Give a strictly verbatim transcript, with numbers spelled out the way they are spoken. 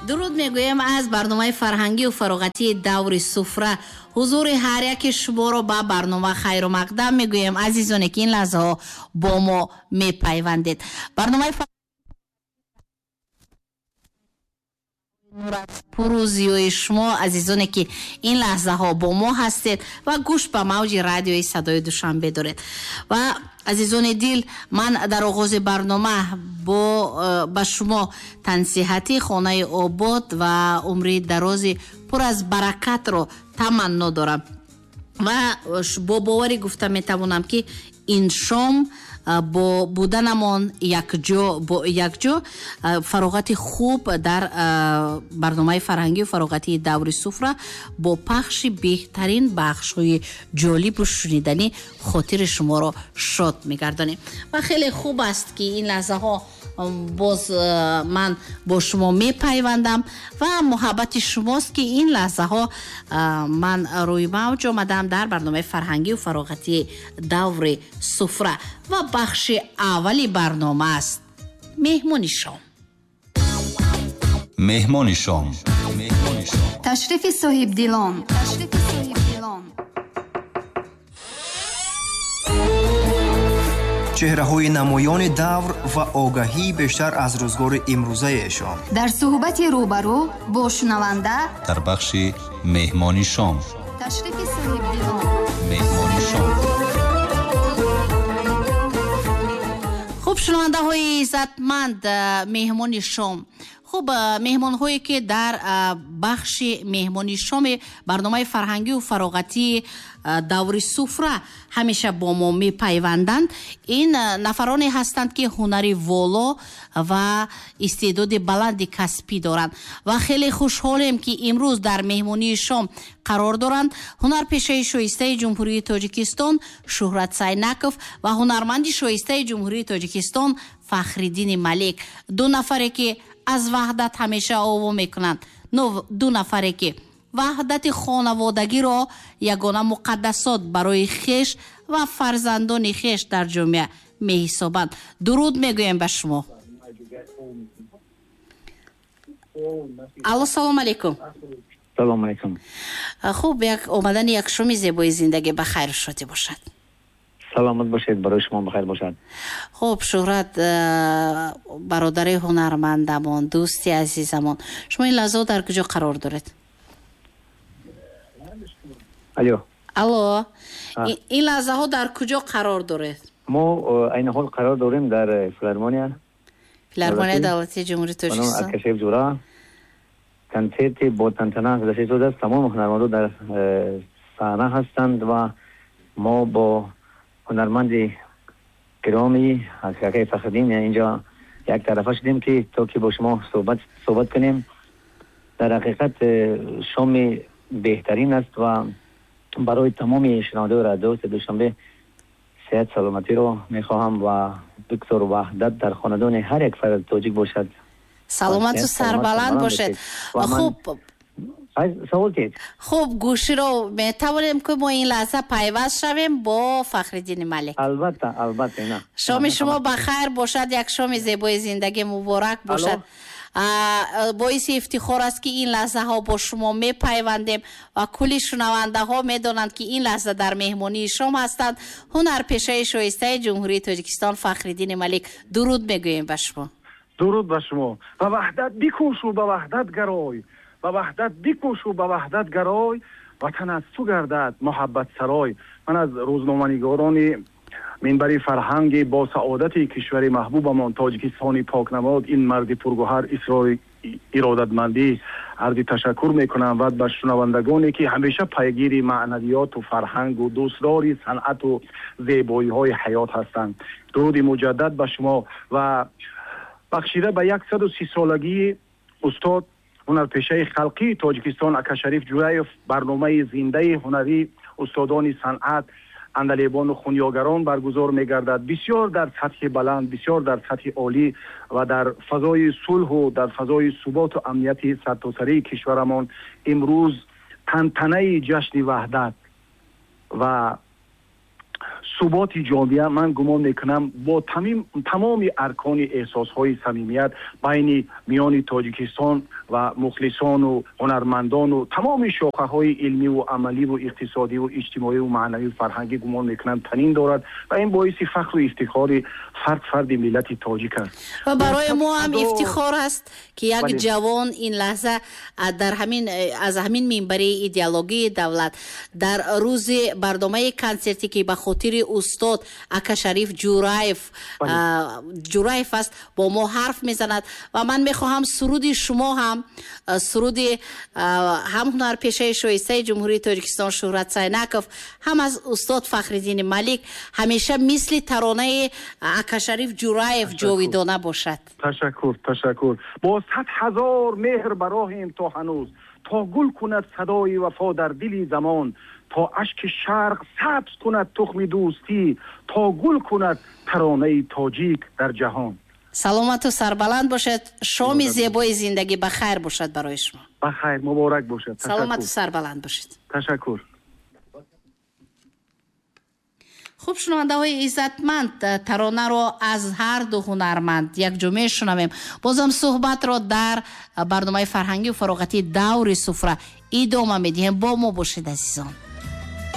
Дуруд мегӯем аз барномаи фарҳангию фароғатии даври суфра. Ҳузури ҳар яки шуморо ба барнома хайру мақдам мегӯем, азизоне ки ин лаҳзаҳо бо мо мепайвандед. Барномаи пуррӯзиёи шумо, азизоне ки ин лаҳзаҳо бо мо ҳастед ва гӯш ба мавҷи радиои садои Душанбе доред. Ва азизони дил, ман дар оғози барнома бо ба шумо тансиҳати хонаи обод ва умри дарози пур аз баракатро таманно дорам ва бо боварӣ гуфта метавонам, ки ин шом бо буданамон якҷо бо якҷо фароғати хуб дар барномаи фарҳангию фароғатии даври суфра бо пахши беҳтарин бахшҳои ҷолибу шуниданӣ хотири шуморо шод мегардонем. Ва хеле хуб аст, ки ин лаҳзаҳо боз ман бо шумо мепайвандам ва муҳаббати шумост, ки ин лаҳзаҳо ман рӯи мавҷ омадам дар барномаи фарҳангию фароғатии даври суфра ва бахши аввали барнома аст меҳмони шом. Меҳмони шом. Ташрифи соҳибдилон. Ташрифи соҳибдилон. Чеҳраҳои намоёни давр ва огаҳии бештар аз рӯзгори имрӯзаи эшон дар суҳбати рӯбарӯ бо шунаванда дар бахши меҳмони шом. Ташрифи соҳибдилон. Меҳмони шом. Хуб, шунавандаҳои иззатманд, меҳмони шом. Хуб, меҳмонҳое ки дар бахши меҳмони шоми барномаи фарҳангию фароғатии даври суфра ҳамеша бо мо мепайванданд, ин нафароне ҳастанд, ки ҳунари воло ва истеъдоди баланди касбӣ доранд ва хеле хушҳолем, ки имрӯз дар меҳмонии шом қарор доранд ҳунарпешаи шоистаи Ҷумҳурии Тоҷикистон Шӯҳрат Сайнаков ва ҳунарманди шоистаи Ҷумҳурии Тоҷикистон Фахриддини Малик. Ду нафаре ки аз ваҳдат ҳамеша ово мекунанд, ду нафаре ки ваҳдати хонаводагиро ягона муқаддасот барои хеш ва фарзандони хеш дар ҷомеа меҳисобанд. Дуруд мегӯем ба шумо. Алло, салом алейкум. Салом алейкум. Хуб, як омадани як шоми зебои зиндагӣ ба хайру шодӣ бошад. Саломат бошед, барои шумо бахайр бошад. Хуб, Шӯҳрат, бародари ҳунармандамон, дӯсти азизамон, шумо ин лаҳзаҳо дар куҷо қарор доред? Алло. Алло, ин лаҳзаҳо дар куҷо қарор доред? Мо айни ҳол қарор дорем дар филармония. Филармонияи давлатии Ҷумҳурии Тоҷикистон. Акашев Ҷура. Консерти бо тантана гузашта шудааст. Тамоми ҳунармандон дар саҳна ҳастанд ва мо бо ҳунарманди гиромӣ акаи Фахриддин инҷо як тарафа шудем, ки то ки бо шумо суҳбат суҳбат кунем. Дар ҳақиқат шоми беҳтарин аст ва барои тамоми шунавандаҳои радиои Душанбе сиҳат саломатиро мехоҳам ва доктор ваҳдат дар хонадони ҳар як фард тоҷик бошад. Саломату сарбаланд бошед. Хуб, савол кед. Хуб, гӯширо метавонем, ки мо ин лаҳза пайваст шавем бо Фахриддини Малик? Албатта, албатта. На, шоми шумо ба хайр бошад, як шоми зебои зиндагӣ муборак бошад. Боиси ифтихор аст, ки ин лаҳзаҳо бо шумо мепайвандем ва кулли шунавандаҳо медонанд, ки ин лаҳза дар меҳмонии шом ҳастанд ҳунарпешаи шоистаи Ҷумҳурии Тоҷикистон Фахриддини Малик. Дуруд мегӯем ба шумо. Дуруд ба шумо. Ба ваҳдат бикӯшу, ба ваҳдат гарой, ба ваҳдат бикӯшу, ба ваҳдат гарой, ватан аз ту гардад муҳаббатсарой. Ман аз рӯзноманигорони минбари фарҳанги бо саодати кишвари маҳбубамон Тоҷикистони покнамод, ин марди пургӯҳар исрори иродатмандӣ арзи ташаккур мекунам ва ба шунавандагоне, ки ҳамеша пайгири маънавиёту фарҳангу дӯстдори санъату зебоиҳои ҳаёт ҳастанд. Дуруди муҷаддад ба шумо ва бахшида ба яксаду си солагии устод ҳунарпешаи халқии Тоҷикистон Акашариф Ҷураев барномаи зиндаи ҳунарии устодони санъат, андалебону хунёгарон баргузор мегардад. Бисёр дар сатҳи баланд, бисёр дар сатҳи олӣ ва дар фазои сулҳу дар фазои суботу амнияти сартосарии кишварамон имрӯз тантанаи ҷашни ваҳдат ва Суботи ҷомеа, ман гумон мекунам, бо тамоми аркони эҳсосҳои самимият байни миёни Тоҷикистон ва мухлисону ҳунармандону тамоми шохаҳои илмиву амаливу иқтисодиву иҷтимоиву маънавию фарҳангӣ, гумон мекунам, танин дорад ва ин боиси фахру ифтихори фард фарди миллати тоҷик аст. Ва барои мо ҳам ифтихор аст, ки як ҷавон ин лаҳза дар ҳамин аз ҳамин минбари идеологии давлат дар рӯзи барномаи консертӣ, ки ба хотири устод Ака Шариф Ҷураев Ҷураев аст, бо мо ҳарф мезанад. Ва ман мехоҳам суруди шумо ҳам, суруди ҳам ҳунарпешаи шоистаи Ҷумҳурии Тоҷикистон Шӯҳрат Сайнаков, ҳам аз устод Фахриддини Малик ҳамеша мисли таронаи Ака Шариф Ҷураев ҷовидона бошад. Ташаккур, ташаккур. Бо сад ҳазор меҳр бароҳем то ҳанӯз, то гул кунад садои вафо дар дили замон, то ашки шарқ сабз кунад тухми дӯстӣ, то гул кунад таронаи тоҷик дар ҷаҳон. Саломату сарбаланд бошед. Шоми зебои зиндагӣ ба хайр бошад барои шумо. Ба хайр, муборак бошад. Саломату сарбаланд бошед. Ташаккур. Хуб, шунавандаҳои иззатманд, таронаро аз ҳар ду ҳунарманд якҷо мешунавем. Бозам суҳбатро дар барномаи фарҳангию фароғатии даври суфра идома медиҳем. Бо мо бошед, азизон.